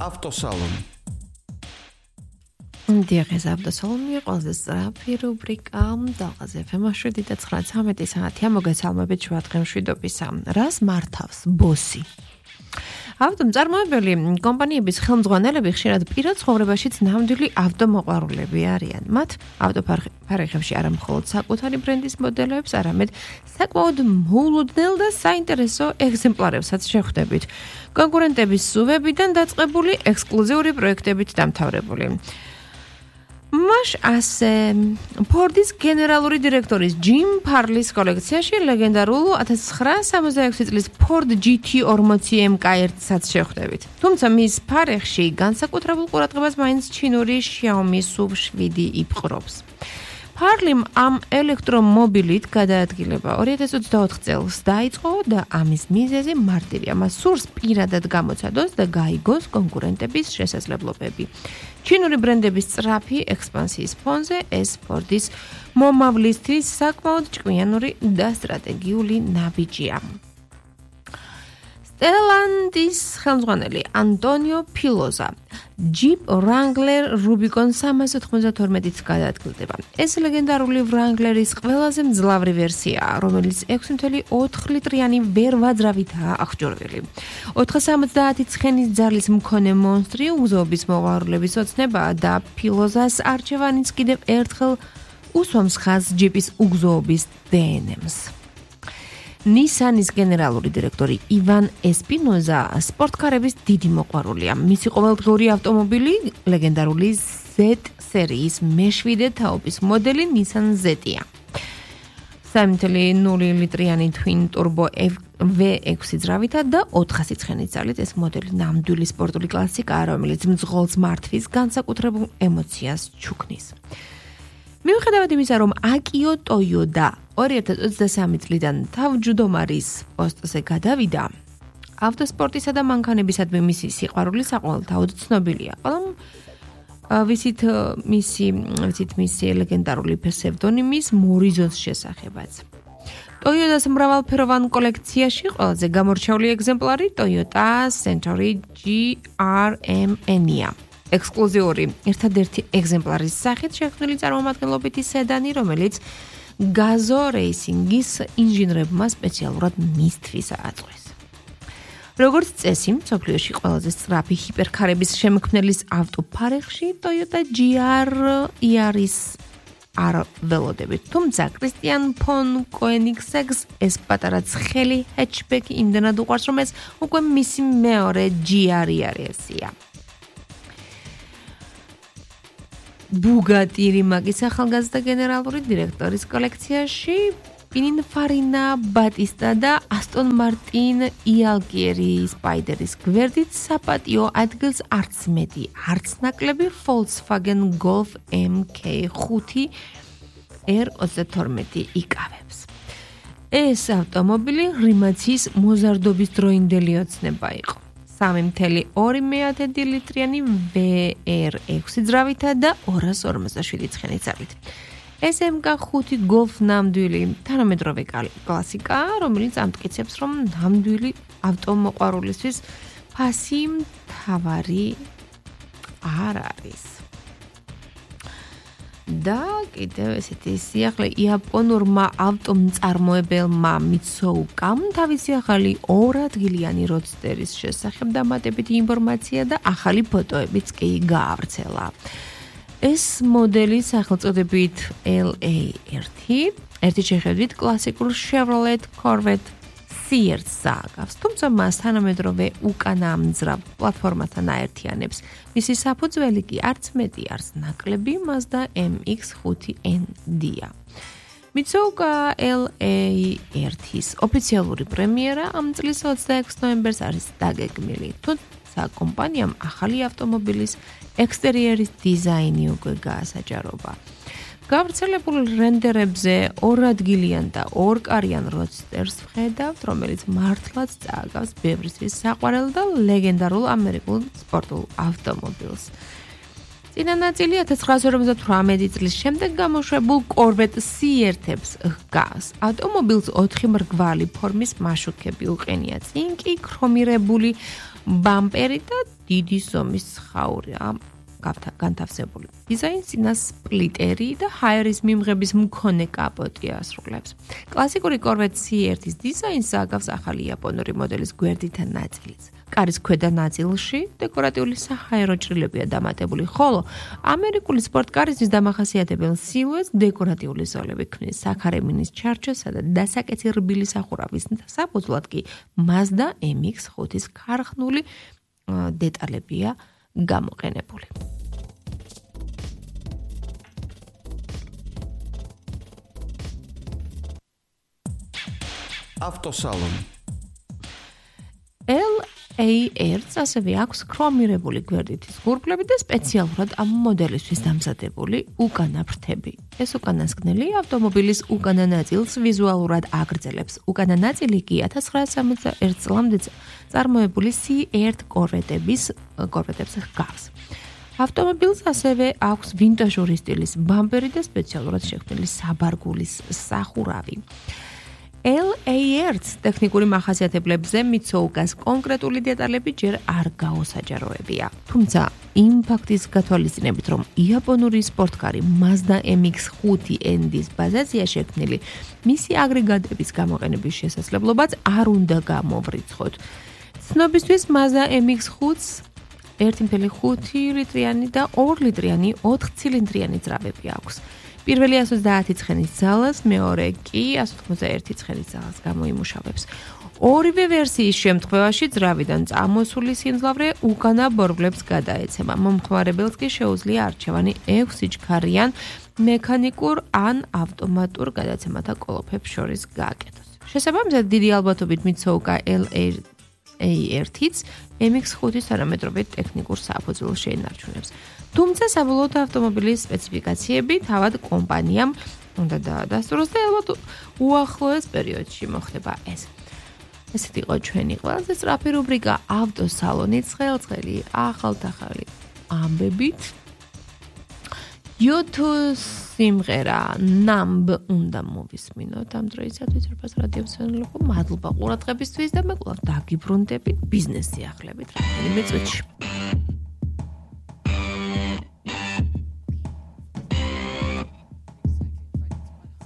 ავტოსალონი. დიახ, ავტოსალონი ყველაზე სწრაფი რუბრიკა დაღაზე FM-ში და 9:13 საათია მოგესალმებით შუა დღემშვიდობისა. რას მართავს ბოსი? ავტომწარმოებელი კომპანიების ხელმძღვანელები ხშირად პირად ცხოვრებაშიც ნამდვილი ავტომოყვარულები არიან. მათ ავტოფარეხებში არა მხოლოდ საკუთარი ბრენდის მოდელებს, არამედ საკმაოდ მოულოდნელ და საინტერესო ეგზემპლარებსაც შეხვდებით. კონკურენტების სუვებიდან დაწყებული ექსკლუზიური პროექტებით დამთავრებული. მაშ ასე ფორდის გენერალური დირექტორის ჯიმ ფარლის კოლექციაში ლეგენდარულ 1966 წლის Ford GT40 MK1-საც შეხვდებით. თუმცა მის ფარეხში განსაკუთრებულ ყურადღებას მაინც ჩინური Xiaomi SUV7 იპყრობს. ფარლიმ ამ ელექტრომობილით გადაადგილება 2024 წელს დაიწყო და ამის მიზეზი მარტივია. მას სურს პირადად გამოცადოს და გაიგოს კონკურენტების შესაძლებლობები. ჩინური ბრენდების სწრაფი ექსპანსიის ფონზე ეს ფორდის მომავლისთვის საკმაოდ ჭკვიანური და სტრატეგიული ნაბიჯია. სტელანდის ხელმძღვანელი ანტონიო ფილოზა Jeep Wrangler Rubicon 392-ით გადაადგილდება. ეს ლეგენდარული Wrangler-ის ყველაზე მძლავრი ვერსიაა, რომელიც 6.4 ლიტრიანი ვერვაძრავითაა აღჭურვილი. 470 ცხენის ძალის მქონე მონსტრი უგზობის მოყვარულების ოცნებაა და ფილოზას არჩევანიც კიდევ ერთხელ უსვამს ხაზს Jeep-ის უგზობის DNM-ს. ნისანის გენერალური დირექტორი ივან ესპინოზა სპორტკარების დიდი მოყვარულია. მისი ყოველდღიური ავტომობილი ლეგენდარული Z სერიის მე-7 თაობის მოდელი Nissan Z-ია. 3.0 ლიტრიანი twin turbo V6 ძრავითა და 400 ცხენის ძალით ეს მოდელი ნამდვილი სპორტული კლასიკაა, რომელიც მძღოლს მართვის განსაკუთრებულ ემოციას ჩუქნის. მიუხედავად იმისა, რომ აკიო ტოიოდა 2023 წლიდან თავმჯდომარის პოსტზე გადავიდა, ავტოსპორტისა და მანქანებისადმი მისი სიყვარული საყოველთაოდ ცნობილია. ყველამ ვიცით მისი ლეგენდარული ფსევდონიმის მორიზოს შესახებაც. ტოიოტას მრავალფეროვან კოლექციაში ყველაზე გამორჩეული ეგზემპლარი Toyota Century GRMN-ია. ექსკლუზიური ერთადერთი ეგზემპლარის სახით შექმნილი წარმომადგენლობითი სედანი, რომელიც გაზო რეისინგის ინჟინრებმა სპეციალურად მისთვის აწყვეს. როგორც წესი, მსოფლიოში ყველაზე სწრაფი ჰიპერქარების შემქმნელის ავტოფარეხში Toyota GR Yaris არ ველოდებით. თუმცა კრისტიან ფონ კოენიგსეგს ეს პატარა ცხელი ჰეტჩბექი იმდენად უყვარს, რომ ეს უკვე მისი მეორე GR Yaris-ია. Bugatti Rimac-ის ახალგაზრდა გენერალური დირექტორის კოლექციაში Pininfarina Battista და Aston Martin Alfieri Spider-ის გვერდით საპატიო ადგილს არც მეტი, არც ნაკლები Volkswagen Golf MK5 R32 იკავებს. ეს ავტომობილი რიმაცის მოზარდობის დროინდელი ოცნება იყო. 3.2 ლიტრიანი VR6 ძრავითა და 257 ცხენის ძალით. ეს MK5 Golf ნამდვილი თანამედროვე კლასიკაა, რომელიც ამტკიცებს, რომ ნამდვილი ავტომოყვარულისთვის ფასი მთავარი არ არის. და კიდევ ესეთი სიახლე იაპონურმა ავტომწარმოებელმა მიცოუკამ თავისი ახალი 2 ადგილიანი როდსტერის შესახებ დამატებითი ინფორმაცია და ახალი ფოტოებიც კი გაავრცელა. ეს მოდელი სახელწოდებით LA1 ერთი შეხედვით კლასიკურ Chevrolet Corvette CRZ-ს აგავს, თუმცა მას თანამედროვე უკანამძრავ პლატფორმასთან აერთიანებს. მისი საფუძველი კი არც მეტი, არც ნაკლები Mazda MX-5ND-ია. მიცოუკა LA1-ის ოფიციალური პრემიერა ამ წლის 26 ნოემბერს არის დაგეგმილი, თუმცა კომპანიამ ახალი ავტომობილის ექსტერიერის დიზაინი უკვე გაასაჯაროვა. გავრცელებულ რენდერებზე 2 ადგილიან და 2 კარიან როდსტერს ვხედავთ, რომელიც მართლაც წააგავს ბევრისთვის საყვარელ და ლეგენდარულ ამერიკულ სპორტულ ავტომობილს. წინა ნაწილი 1958 წლის შემდეგ გამოშვებულ Corvette C1-ებს ჰგავს. ავტომობილს 4 მრგვალი ფორმის მაშუქები უყენია. წინ კი ქრომირებული ბამპერი და დიდი ზომის ცხაურია განთავსებული. დიზაინს წინა სპლიტერი და ჰაერის მიმღების მქონე კაპოტი ასრულებს. კლასიკური Corvette C1-ის დიზაინს აგავს ახალი იაპონური მოდელის გვერდითა ნაწილიც. კარის ქვედა ნაწილში დეკორატიული საჰაერო ჭრილებია დამატებული, ხოლო ამერიკული სპორტკარისთვის დამახასიათებელ სილუეტს დეკორატიული ზოლები ქმნის. საქარემინის ჩარჩოსა და დასაკეცი რბილი სახურავის საფუძვლად კი Mazda MX-5-ის ქარხნული დეტალებია გამოყენებული. ავტოსალონი LAR-ს ასევე აქვს ქრომირებული გვერდითის ღურბლები და სპეციალურად ამ მოდელისთვის დამზადებული უკანა ფრთები. ეს უკანასკნელი ავტომობილის უკანა ნაწილს ვიზუალურად აგრძელებს. უკანა ნაწილი კი 1971 წლამდე წარმოებული C1 Corvette-ებს ჰგავს. ავტომობილს ასევე აქვს ვინტაჟური სტილის ბამპერი და სპეციალურად შექმნილი საბარგულის სახურავი. LAR-ს ტექნიკური მახასიათებლებზე მიცოუკას კონკრეტული დეტალები ჯერ არ გაუსაჯაროებია. თუმცა იმ ფაქტის გათვალისწინებით, რომ იაპონური სპორტკარი Mazda MX-5-ის ბაზაზია შექმნილი, მისი აგრეგატების გამოყენების შესაძლებლობაც არ უნდა გამოვრიცხოთ. ცნობისთვის Mazda MX-5-ს 1.5 litrიანი და 2 litrიანი 4 ცილინდრიანი ძრავები აქვს. პირველი 130 ცხენის ძალას, მეორე კი 191 ცხენის ძალას გამოიმუშავებს. ორივე ვერსიის შემთხვევაში ძრავიდან წამოსული სიმძლავრე უკანა ბორბლებს გადაეცემა. მომხმარებელს კი შეუძლია არჩევანი 6 სიჩქარიან მექანიკურ ან ავტომატურ გადაცემათა კოლოფებს შორის გააკეთოს. შესაბამისად, დიდი ალბათობით მიცოუკა LAR-იც MX-5-ის თანამედროვე ტექნიკურ საფუძველს შეინარჩუნებს. თუმცა საბოლოოდ ავტომობილის სპეციფიკაციები თავად კომპანიამ უნდა დაადასტუროს და ალბათ უახლოეს პერიოდში მოხდება ეს. ესეთი იყო ჩვენი ყველაზე სწრაფი რუბრიკა ავტოსალონი ცხელ-ცხელი ახალ-ახალი ამბებით. YouTube სიმღერა Numb უნდა მოვისმინოთ ამ დროისათვის რფას რადიო მსმენელებო. მადლობა ყურადღებისთვის და მე კვლავ დაგიბრუნდებით ბიზნეს სიახლეებით რამდენიმე წუთში.